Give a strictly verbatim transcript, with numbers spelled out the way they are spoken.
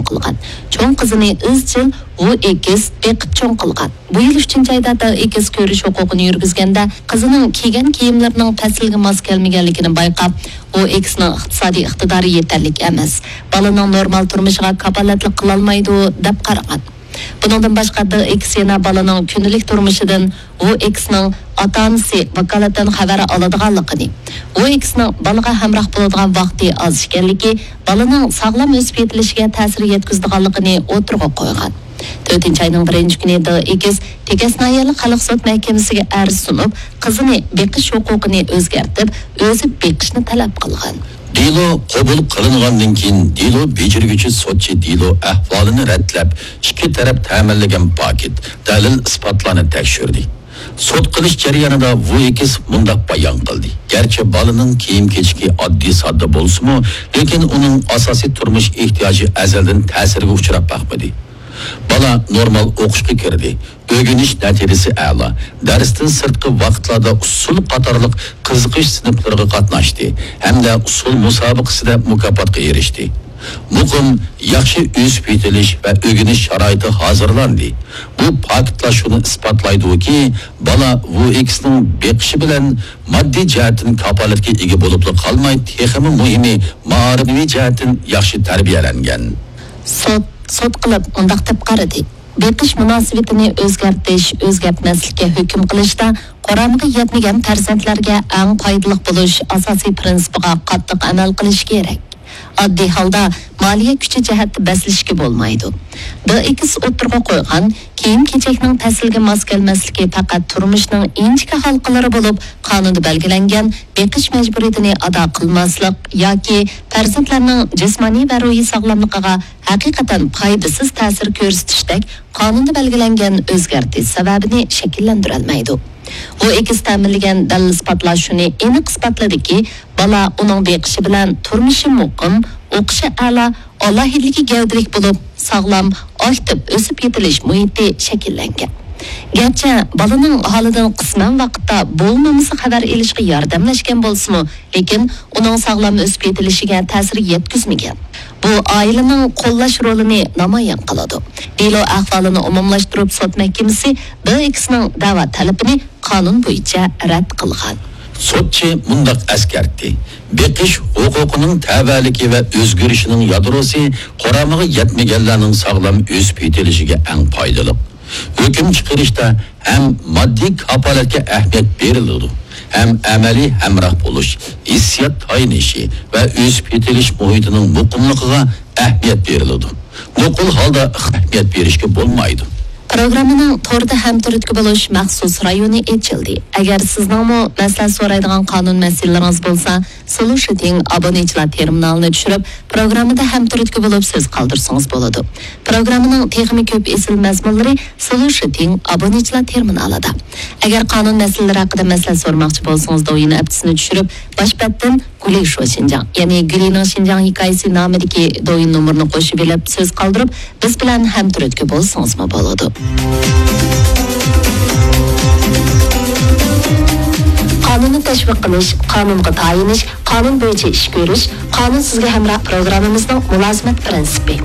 قىلغان. چوڭ قىزىنى ئىزچىل ۋۇ ئېكس بېقىپ چوڭ قىلغان. بۇ يىل ئۈچىنچى ئايدا دېڭ ئېكس كۆرۈش ھوقۇقىنى يۈرگۈزگەندە، قىزىنىڭ كىيگەن كىيىملىرىنىڭ پەسىلگە ماس كەلمىگەنلىكىنى بايقاپ، ۋۇ ئېكسنىڭ ئىقتىسادىي ئىقتىدارى يېتەرلىك ئەمەس، بالىنىڭ نورمال تۇرمۇشىغا كاپالەتلىك قىلالمايدۇ، دەپ قارىغان. بۇنىڭدىن باشقا، دېڭ ئېكس يەنە بالىنىڭ كۈندىلىك تۇرمۇشىدىن ۋۇ ئېكسنىڭ ئاتا-ئانىسى ۋاكالىتەن خەۋەر ئالىدىغانلىقىنى، ۋۇ ئېكسنىڭ بالىغا ھەمراھ بولىدىغان ۋاقتى ئاز ئىكەنلىكى، بالىنىڭ ساغلام ئۆسۈپ يېتىلىشىگە تەسىر يەتكۈزىدىغانلىقىنى ئوتتۇرىغا قويغان. تۆتىنچى ئاينىڭ بىرىنچى كۈنى دېڭ ئېكس تېكەس ناھىيەلىك خەلق سوت مەھكىمىسىگە ئەرز سۇنۇپ، قىزىنى بېقىش ھوقۇقىنى ئۆزگەرتىپ، ئۆزى بېقىشنى تەلەپ قىلغان. دېلو قوبۇل قىلىنغاندىن كېيىن، دېلو بېجىرگۈچى سوتچى دېلو ئەھۋالىنى رەتلەپ، ئىككى تەرەپ تەمىنلىگەن پاكىت، دەلىل ئىسپاتلارنى تەكشۈردى. سوت قىلىش جەريانىدا ۋۇ ئېكس مۇنداق بايان قىلدى: گەرچە بالىنىڭ كىيىم-كېچىكى ئاددىي-ساددا بولسىمۇ، لېكىن ئۇنىڭ ئاساسىي تۇرمۇش ئېھتىياجى ئەزەلدىن تەسىرگە ئۇچراپ باقمىدى. بالا نورمال ئوقۇشقا كىردى. ئۆگىنىش نەتىجىسى ئەلا. دەرستىن سىرتقى ۋاقىتلاردا ئۇسسۇل قاتارلىق قىزىقىش سىنىپلىرىغا قاتناشتى ھەمدە ئۇسسۇل مۇسابىقىسىدە مۇكاپاتقا ئېرىشتى. مۇقىم، ياخشى ئۆسۈپ يېتىلىش ۋە ئۆگىنىش شارائىتى ھازىرلاندى. بۇ پاكىتلار شۇنى ئىسپاتلايدۇكى، بالا ۋۇ ئېكسنىڭ بېقىشى بىلەن ماددىي جەھەتتىن كاپالەتكە ئىگە بولۇپلا قالماي، تېخىمۇ مۇھىمى، مائارىۋى جەھەتتىن ياخشى تەربىيەلەنگەن. سوت، سوت قىلىپ مۇنداق دەپ قارىدى: بېقىش مۇناسىۋىتىنى ئۆزگەرتىش، ئۆزگەرتمەسلىككە ھۆكۈم قىلىشتا قۇرامىغا يەتمىگەن پەرزەنتلەرگە ئەڭ پايدىلىق بولۇش ئاساسىي پىرىنسىپىغا قاتتىق ئەمەل قىلىش كېرەك. ئاددىي ھالدا مالىيە كۈچى جەھەتتە بەسلىشكە بولمايدۇ. دېڭ ئېكس ئوتتۇرىغا قويغان كىيىم-كېچەكنىڭ پەسىلگە ماس كەلمەسلىكى پەقەت تۇرمۇشنىڭ ئىنچىكە ھالقىلىرى بولۇپ، قانۇندا بەلگىلەنگەن بېقىش مەجبۇرىيىتىنى ئادا قىلماسلىق ياكى پەرزەنتلەرنىڭ جىسمانىي ۋە روھىي ساغلاملىقىغا ھەقىقەتەن پايدىسىز تەسىر كۆرسىتىشتەك قانۇندا بەلگىلەنگەن ئۆزگەرتىش سەۋەبىنى شەكىللەندۈرەلمەيدۇ. ۋۇ ئېكس تەمىنلىگەن دەلىل ئىسپاتلار شۇنى ئېنىق ئىسپاتلىدىكى، بالا ئۇنىڭ بېقىشى بىلەن تۇرمۇشى مۇقىم، ئوقۇشى ئەلا، ئالاھىدىلىكى گەۋدىلىك بولۇپ، ساغلام، ئاكتىپ ئۆسۈپ يېتىلىش مۇھىتى شەكىللەنگەن. گەرچە بالىنىڭ ھالىدىن قىسمەن ۋاقىتتا بولمىمىسى خەۋەر ئېلىشقا ياردەملەشكەن بولسىمۇ، لېكىن ئۇنىڭ ساغلام ئۆسۈپ يېتىلىشىگە تەسىر يەتكۈزمىگەن. بۇ ئائىلىنىڭ قوللاش رولىنى نامايان قىلىدۇ. دېلو ئەھۋالىنى ئومۇملاشتۇرۇپ، سوت مەھكىمىسى دېڭ ئېكسنىڭ دەۋا تەلىپىنى قانۇن بويىچە رەت قىلغان. سوتچى مۇنداق ئەسكەرتتى: بېقىش ھوقۇقىنىڭ تەۋەلىكى ۋە ئۆزگىرىشىنىڭ يادروسى قۇرامىغا يەتمىگەنلەرنىڭ ساغلام ئۆسۈپ يېتىلىشىگە ئەڭ پايدىلىق. ھۆكۈم چىقىرىشتا ھەم ماددىي كاپالەتكە ئەھمىيەت بېرىلىدۇ، ھەم ئەمەلىي ھەمراھ بولۇش، ھېسسىيات تايىنىشى ۋە ئۆسۈپ يېتىلىش مۇھىتىنىڭ مۇقىملىقىغا ئەھمىيەت بېرىلىدۇ. نوقۇل ھالدا ئەھمىيەت بېرىشكە بولمايدۇ. پروگراممىنىڭ توردا ھەمتۈرتكە بولۇش مەخسۇس رايونى ئېچىلدى. ئەگەر سىزنىڭمۇ مەسلىھەت سورايدىغان قانۇن مەسىلىلىرىڭىز بولسا، سولۇشىتىڭ ئابۇنىچىلار تېرمىنالىنى چۈشۈرۈپ، پروگراممىدا ھەمتۈرتكە بولۇپ سۆز قالدۇرسىڭىز بولىدۇ. پروگراممىنىڭ تېخىمۇ كۆپ ئېسىل مەزمۇنلىرى سولۇشىتىڭ ئابۇنىچىلار تېرمىنالىدا. ئەگەر قانۇن مەسىلىلىرى ھەققىدە مەسلىھەت سورىماقچى بولسىڭىز، دوۋيىن ئەپتىسىنى چۈشۈرۈپ، باش بەتتىن گۇلى شۇ شىنجاڭ، يەنى گۇلىنىڭ شىنجاڭ ھېكايىسى نامىدىكى دوۋيىن نومۇرىنى قوشۇپ ئېلىپ سۆز قالدۇرۇپ، بىز بىلەن ھەمتۈرتكە بولسىڭىزمۇ بولىدۇ. قانۇننى تەشۋىق قىلىش، قانۇنغا تايىنىش، قانۇن بويىچە ئىش كۆرۈش، قانۇن سىزگە ھەمراھ پروگراممىمىزنىڭ مۇلازىمەت پىرىنسىپى.